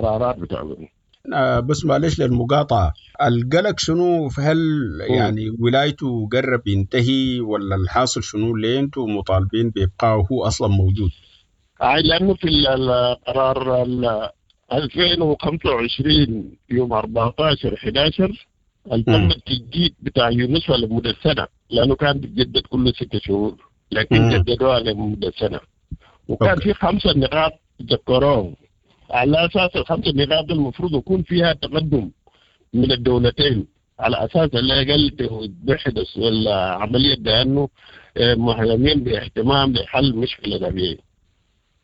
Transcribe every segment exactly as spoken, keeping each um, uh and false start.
القرارات بتاعتهم. آه بس معلش للمقاطعة، القلق شنو؟ هل يعني ولايته قرب ينتهي ولا الحاصل شنو؟ ليه انتم مطالبين بإبقائه هو أصلا موجود؟ آه لأنه في القرار ألفين وخمسة وعشرين يوم أربعتاشر حداشر تم التجديد بتاع يونسفا لمدة سنة، لأنه كان بيتجدد كل ستة شهور، لكن جددوها لمدة سنة. وكان أوكي. في خمسة نقاط ذكروهم، على أساس الخمسة نقاط المفروض يكون فيها تقدم من الدولتين، على أساس اللي أقل توحد العملية بأنه مهتمين باهتمام بحل مشكلة أبيي.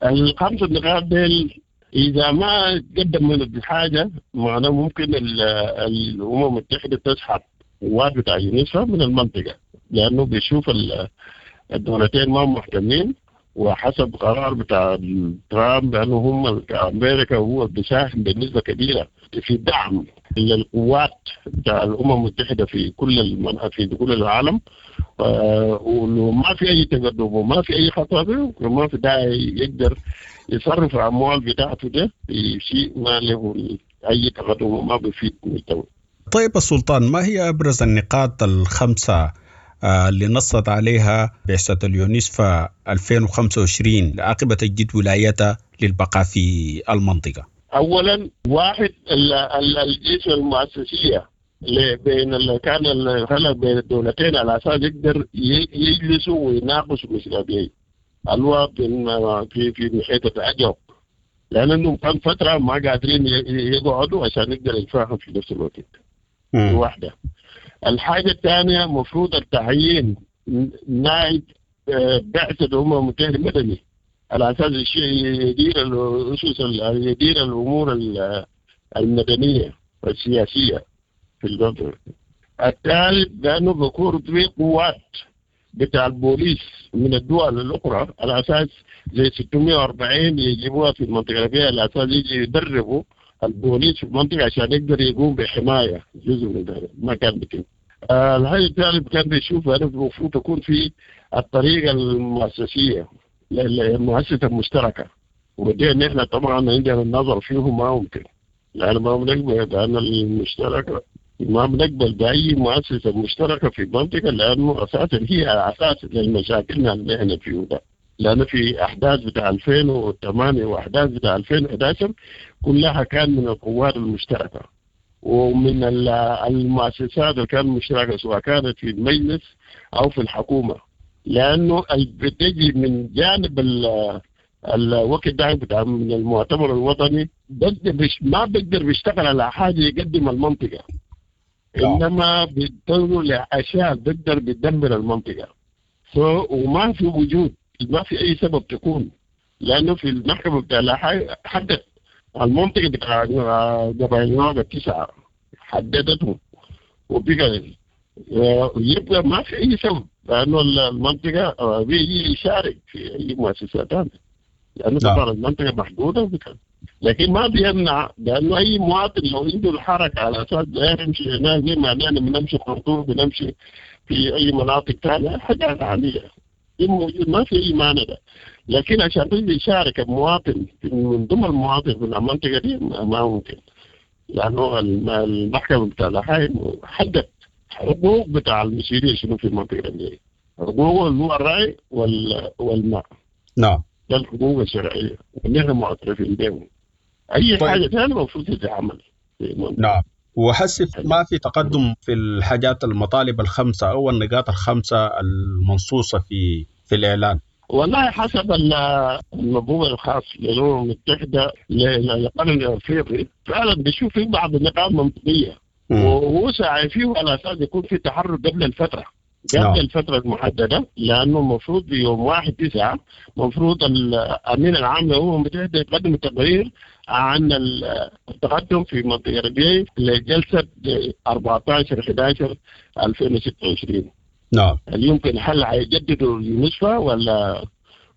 الخمسة نقاط ديل إذا ما تقدم من الحاجة معناه ممكن الأمم المتحدة تسحب قوات بتاع يونسفا من المنطقة، لأنه بيشوف الدولتين ما مهتمين، وحسب قرار بتاع ترامب بأنه هم أمريكا هو بيساهم بنسبة كبيرة في دعم للقوات بتاع الأمم المتحدة في كل المن... في كل العالم، وما في أي تقدم وما في أي خطوة وما في داعي يقدر يصرف الأموال بتاعته ده في شيء ما له أي تقدم وما بيفيد المجتمع. طيب السلطان، ما هي أبرز النقاط الخمسة اللي نصت عليها بعثة اليونسفا ألفين وخمسة وعشرين عقب تجديد ولايتها للبقاء في المنطقة؟ أولا واحد الجيش المؤسسية بين اللي كان الخلل بين الدولتين على أساس يقدر يجلسوا ويناقشوا مشكلة الوا في في محيط الأجوب، لأنهم كان فترة ما قادرين يقعدوا عشان يقدر يتفاهم في نفس الوقت. واحدة. الحاجة الثانية مفروض التعيين نائب بعثة الأمم المتحدة المدني على أساس يدير الأسس يدير الأمور المدنية والسياسية في المنطقة. الثالث لأنه بيكون في قوات بتاع البوليس من الدول الأخرى على أساس زي ستمية وأربعين يجيبوها في المنطقة فيها على أساس يجي يدربوا البوليس في المنطقة عشان يقدر يقوم بحماية جزء من ذلك ما كان بيتم. آه الحاجة الثالث كان بيشوف أنه المفروض تكون في الطريقة المؤسسية المؤسسة المشتركة، ودي نحن طبعا عندنا النظر فيه ما ممكن، لأن ما بنقبل لأن المشتركة ما بنقبل بأي مؤسسة مشتركة في المنطقة، لأنه أساسا هي أساس للمشاكل اللي احنا فيه ده. لأن في أحداث بتاع ألفين وثمانية وأحداث بتاع ألفين وأحد عشر كلها كان من القوات المشتركة ومن المؤسسات اللي كانت مشتركة سواء كانت في المجلس أو في الحكومة، لأنه بتجي من جانب الوقت ده بتاع من المؤتمر الوطني ما بيقدر بيشتغل على حاجة يقدم المنطقة، إنما بتنظر لأشياء بتقدر بتدمر المنطقة. وما في وجود ما في أي سبب تكون، لأنه في المحكمة بتاع حدد المنطقة بتاع قبائل النوبة التسعة حددته وبقى يبقى ما في أي سبب، لأنه المنطقة بيجي يشارك في أي مؤسسات ثانية، لأنه طبعا المنطقة محدودة وبكذا. لكن ما بيمنع لأنه أي مواطن لو عنده الحركة على أساس لا يمشي هناك زي ما نحن بنمشي خرطوم بنمشي في أي مناطق ثانية حاجات عادية موجود ما في أي مانع ده. لكن عشان تجي يشارك المواطن من ضمن المواطن في المنطقة دي ما ممكن، لأنه المحكمة بتاع الحي حدد حقوق بتاع المسيرية شنو في المنطقة دي، حقوق اللي هو الرعي والماء. نعم، ده الحقوق الشرعية ونحن معترفين بهم. أي طيب. حاجة ثانية المفروض تتعمل. نعم، وحسب ما في تقدم في الحاجات المطالب الخمسة أو النقاط الخمسة المنصوصة في في الإعلان. والله حسب المفهوم الخاص للأمم المتحدة للقرن الأفريقي فعلا بيشوف في بعض النقاط منطقية وهو سعى فيه على أساس يكون في تحرك قبل الفترة قبل نعم. الفترة المحددة، لأنه المفروض يوم واحد تسعة مفروض الأمين العام للأمم المتحدة يقدم تقرير عن التقدم في منطقة ربيعي لجلسة أربعة عشر أحد عشر ألفين وستة وعشرين. نعم. هل يمكن هل هيجددوا اليونسفا ولا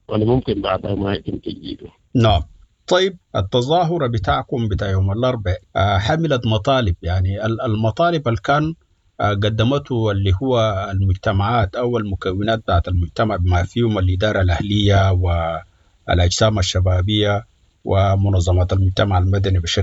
ولا ممكن بعدها ما يتم تجديده؟ نعم. طيب التظاهرة بتاعكم بتاع يوم الأربعاء حملت مطالب، يعني المطالب اللي كان قدمته اللي هو المجتمعات أو المكونات بتاعت المجتمع بما فيهم الإدارة الأهلية والأجسام الشبابية ومنظمات المجتمع المدني بشكل